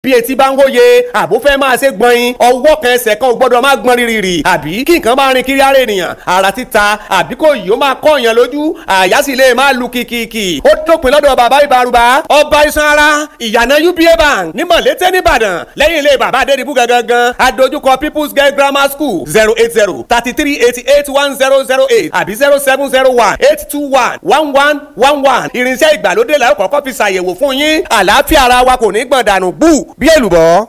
Bí etí bá ń wóye, àbó fẹ́ máa ṣe gbọ̀nyin, ọwọ́ kan ẹsẹ̀ kan ò gbọ́dọ̀ máa gbọ́n rírì, àbí kí nǹkan máa rin kiri ara ènìyàn, ara títa, àbí kò yìí ó máa kọ́ èèyàn lójú, àyà sì lè máa lu kìkìkì. Ó dópin lọ́dọ̀ bàbá ìbárúbá, ọba iṣan ara, ìyànà UBA Bank ní Mọ̀lété nìbàdàn, lẹ́yìn ilé bàbá Adédìbú gangan, adójúkọ People's Girl Grammar School. 08033881008 àbí 07018211111. Irinṣẹ́ ìgbàlódé la ó kọ́kọ́ fi ṣàyẹ̀wò fún yín. Àlàáfíà ara wa kò ní gbọ̀n dànù bú bí èlùbọ́.